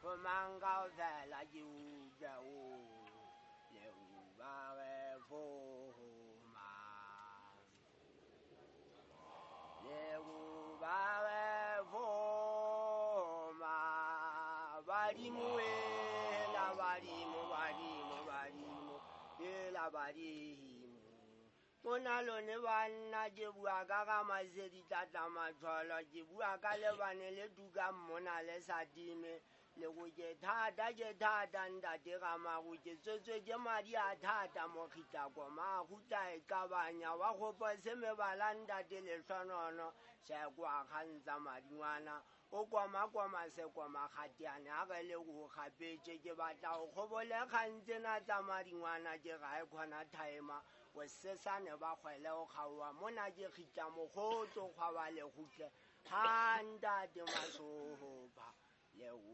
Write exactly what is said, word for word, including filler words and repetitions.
Ho mang kaofela ke utlwe o le uba re foma. Le uba re foma. Badimo la badimo badimo badimo la badimo. Mona lone banna ke bua ka ga masedi tlatla matshwalo ke bua ka lebane le tukang mona le sa time le go ke thata ke thata ntate ga mago ke tswetswe ke madi a thata mokgitla koma gutla e kabanya wa gopa se mebala ntate le tlhonono sekwa kgantsa madingwana o koma koma se koma kgatiane a ge le go gapetse ke batla go kgobole kgantse na tsa madingwana ke ga e kgona thaema o sesane ba kgwele o kgaowa mona ke kgitla mokgotso kgwa ba le gutle ha ntate masoba le